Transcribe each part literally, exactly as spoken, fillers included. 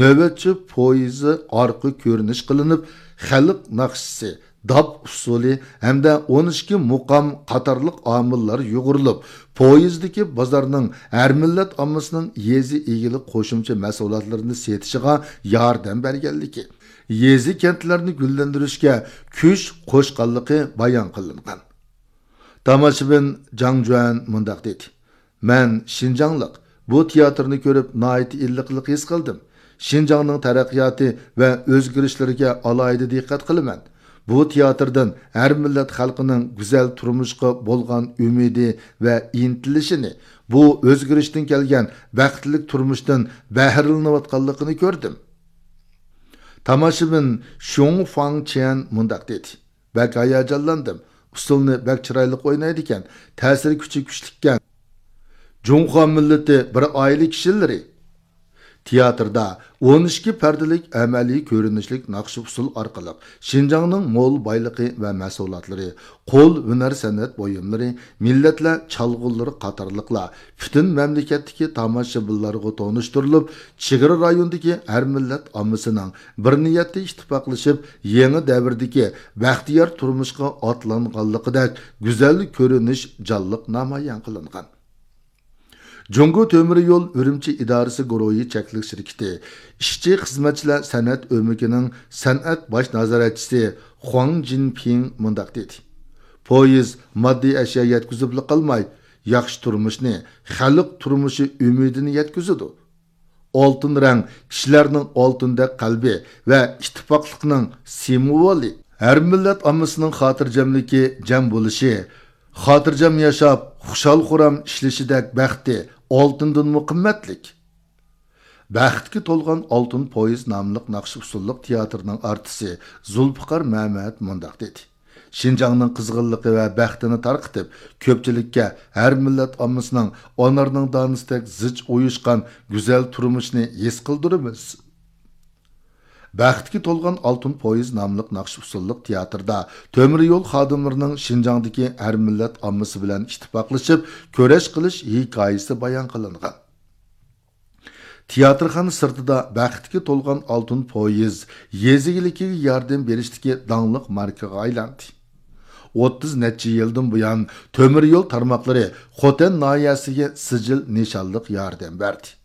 نۆۋەتچى پويىزى ئارقا كۆرۈنۈش قىلىنىپ، خەلق ناخشىسى، داپ ئۇسسۇلى ھەمدە ئون ئىككى مۇقام قاتارلىق ئامىللار يۇغۇرۇلۇپ، پويىزدىكى بازارنىڭ ھەر مىللەت ئاممىسىنىڭ يېزا ئىگىلىك قوشۇمچە مەھسۇلاتلىرىنى سېتىشىغا ياردەم بەرگەنلىكى، يېزا كەنتلەرنى گۈللەندۈرۈشكە كۈچ قوشقانلىقى بايان قىلىنغان. تاماشىبىن جاڭ جۈەن مۇنداق دېدى: مەن شىنجاڭلىق، بۇ تىياتىرنى كۆرۈپ ناھايىتى ئىللىقلىق ھېس قىلدىم. شىنجاڭنىڭ تەرەققىياتى ۋە ئۆزگىرىشلىرىگە ئالاھىدە دىققەت قىلىمەن. بۇ تىياتىردىن ھەر مىللەت خەلقىنىڭ گۈزەل تۇرمۇشقا بولغان ئۈمىدى ۋە ئىنتىلىشىنى، بۇ ئۆزگىرىشتىن كەلگەن بەختلىك تۇرمۇشتىن بەھرىلىنىۋاتقانلىقىنى كۆردۈم. تاماشىبىن شۇڭ فاڭ چيەن مۇنداق دېدى: بەك ھاياجانلاندىم. ئۇسسۇلنى بەك چىرايلىق ئوينايدىكەن، تەسىر كۈچى كۈچلۈككەن. جۇڭخۇا مىللىتى بىر ئائىلە كىشىلىرى. تىياتىردا ئون ئىككى پەردىلىك ئەمەلىي كۆرۈنۈشلۈك ناخشا ئۇسسۇل ئارقىلىق شىنجاڭنىڭ مول بايلىقى ۋە مەھسۇلاتلىرى، قول ھۈنەر سەنئەت بۇيۇملىرى، مىللەتلەر چالغۇلىرى قاتارلىقلار پۈتۈن مەملىكەتتىكى تاماشىبىنلارغا تونۇشتۇرۇلۇپ، چېگرا رايوندىكى ھەر مىللەت ئاممىسىنىڭ بىر نىيەتتە ئىتتىپاقلىشىپ، يېڭى دەۋردىكى بەختىيار تۇرمۇشقا ئاتلانغانلىقىدەك گۈزەل كۆرۈنۈش جانلىق نامايان قىلىنغان. جۇڭگو تۆمۈر يول ئۈرۈمچى ئىدارىسى گۇرۇھى چەكلىك شىركىتى ئىشچى خىزمەتچىلەر سەنئەت ئۆمىكىنىڭ سەنئەت باش نازارەتچىسى خۇاڭ جىنپىڭ مۇنداق دېدى: پويىز ماددىي ئەشيا يەتكۈزۈپلا قالماي، ياخشى تۇرمۇشنى، خەلق تۇرمۇشى ئۈمىدىنى يەتكۈزىدۇ. ئالتۇن رەڭ كىشىلەرنىڭ ئالتۇندەك قەلبى ۋە ئىتتىپاقلىقنىڭ سىمۋولى. ھەر مىللەت ئاممىسىنىڭ خاتىرجەملىكى، جەم بولۇشى، خاتىرجەم ياشاپ، خۇشال-خۇرام ئىشلىشىدەك بەختى ئالتۇندىنمۇ قىممەتلىك. بەختكە تولغان ئالتۇن پويىز ناملىق ناخشا-ئۇسسۇللۇق تىياتىرنىڭ ئارتىسى زۇلپىقار مەمەت مۇنداق دېدى: شىنجاڭنىڭ قىزغىنلىقى ۋە بەختىنى تارقىتىپ، كۆپچىلىككە ھەر مىللەت ئاممىسىنىڭ ئانارنىڭ دانىسىدەك زىچ ئۇيۇشقان گۈزەل تۇرمۇشىنى ھېس قىلدۇرىمىز. بەختكە تولغان ئالتۇن پويىز ناملىق ناخشا-ئۇسسۇللۇق تىياتىردا تۆمۈر يول خادىملىرىنىڭ شىنجاڭدىكى ھەر مىللەت ئاممىسى بىلەن ئىتتىپاقلىشىپ كۈرەش قىلىش ھېكايىسى بايان قىلىنغان. تىياتىرخانا سىرتىدا بەختكە تولغان ئالتۇن پويىز يېزا ئىگىلىكىگە ياردەم بېرىشتىكى داڭلىق ماركىغا ئايلاندى. ئوتتۇز نەچچە يىلدىن بۇيان تۆمۈر يول تارماقلىرى خوتەن ناھىيەسىگە سىجىل نىشانلىق ياردەم بەردى.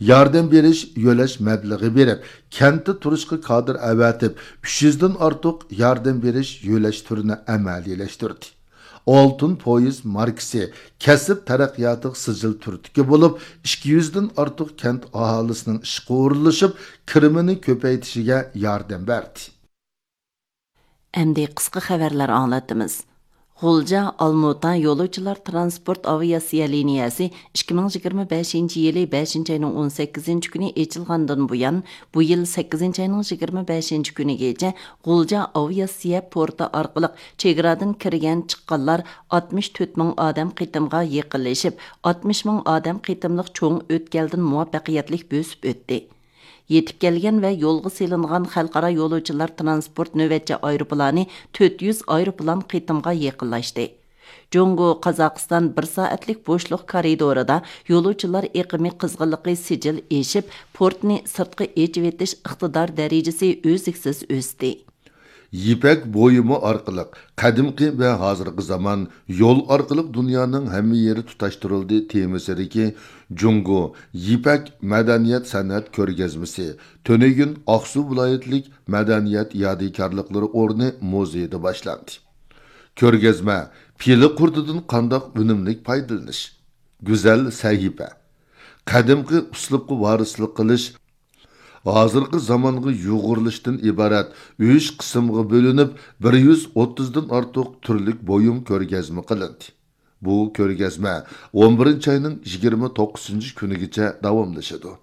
ياردەم بېرىش يۆلەش مەبلىغى بېرىپ، كەنتتە تۇرۇشقا كادىر ئەۋەتىپ، ئۈچ يۈزدىن ئارتۇق ياردەم بېرىش يۆلەش تۈرىنى ئەمەلىيلەشتۈردى. ئالتۇن پويىز ماركىسى كەسىپ تەرەققىياتىغا سىجىل تۈرتكە بولۇپ، ئىككى يۈزدىن ئارتۇق كەنت ئاھالىسىنىڭ ئىشقا ئورۇنلىشىپ، كىرىمىنى كۆپەيتىشىگە ياردەم بەردى. ئەمدى قىسقا خەۋەرلەر ئاڭلىتىمىز. غۇلجا، ئالمۇتا يولۇچىلار ترانسپورت ئاۋىئاتسىيە لىنىيەسى ئىككى مىڭ يىگىرمە بەشىنچى يىلى بەشىنچى ئاينىڭ ئون سەككىزىنچى كۈنى ئېچىلغاندىن بۇيان، بۇ يىل سەككىزىنچى ئاينىڭ يىگىرمە بەشىنچى كۈنىگىچە غۇلجا ئاۋىئاتسىيە پورتى ئارقىلىق چېگرادىن كىرگەن، چىققانلار ئاتمىش تۆت مىڭ ئادەم قېتىمغا يېقىنلىشىپ، ئاتمىش مىڭ ئادەم قېتىملىق چوڭ ئۆتكەلدىن مۇۋەپپەقىيەتلىك بۆسۈپ ئۆتتى. يېتىپ كەلگەن ۋە يولغا سېلىنغان خەلقئارا يولۇچىلار ترانسپورت نۆۋەتچى ئايروپىلانى تۆت يۈز ئايروپىلان قېتىمغا يېقىنلاشتى. جۇڭگو، قازاقىستان بىر سائەتلىك بوشلۇق كارىدورىدا يولۇچىلار ئېقىمى قىزغىنلىقى سىجىل ئېشىپ، پورتنى سىرتقا ئېچىۋېتىش ئىقتىدار دەرىجىسى ئۈزلۈكسىز ئۆستى. يىپەك بويىمى ئارقىلىق قەدىمكى ۋە ھازىرقى زامان، يول ئارقىلىق دۇنيانىڭ ھەممە يېرى تۇتاشتۇرۇلدى تېمىسىدىكى جۇڭگو يىپەك مەدەنىيەت سەنئەت كۆرگەزمىسى تۈنۈگۈن ئاقسۇ ۋىلايەتلىك مەدەنىيەت يادىكارلىقلىرى ئورنى مۇزېيىدا باشلاندى. كۆرگەزمە پىلە قۇرتىدىن قانداق ئۈنۈملۈك پايدىلىنىش، گۈزەل سەھىپە، قەدىمكى ئۇسلۇبقا ۋارىسلىق قىلىش، ھازىرقى زامانغا يۇغۇرۇلۇشتىن ئىبارەت ئۈچ قىسىمغا بۆلۈنۈپ، بىر يۈز ئوتتۇزدىن ئارتۇق تۈرلۈك بۇيۇم كۆرگەزمە قىلىندى. بۇ كۆرگەزمە ئون بىرىنچى ئاينىڭ يىگىرمە توققۇزىنچى كۈنىگىچە داۋاملىشىدۇ.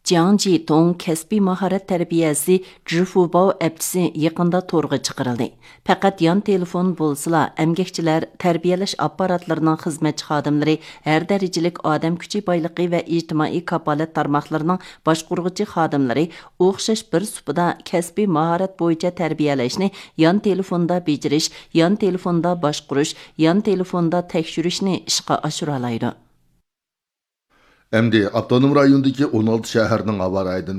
جياڭ جىتۇڭ كەسپىي ماھارەت تەربىيەسى جۈفۇباۋ ئەپچىسى يېقىندا تورغا چىقىرىلدى. پەقەت يان تېلېفون بولسىلا، ئەمگەكچىلەر، تەربىيەلەش ئاپپاراتلىرىنىڭ خىزمەتچى خادىملىرى، ھەر دەرىجىلىك ئادەم كۈچى بايلىقى ۋە ئىجتىمائىي كاپالەت تارماقلىرىنىڭ باشقۇرغۇچى خادىملىرى ئوخشاش بىر سۇپىدا كەسپىي ماھارەت بويىچە تەربىيەلەشنى يان تېلېفوندا بېجىرىش، يان تېلېفوندا باشقۇرۇش، يان تېلېفوندا تەكشۈرۈشنى ئىشقا ئاشۇرالايدۇ. ئەمدى ئاپتونوم رايوندىكى ئون ئالتە شەھەرنىڭ ھاۋا رايىدىن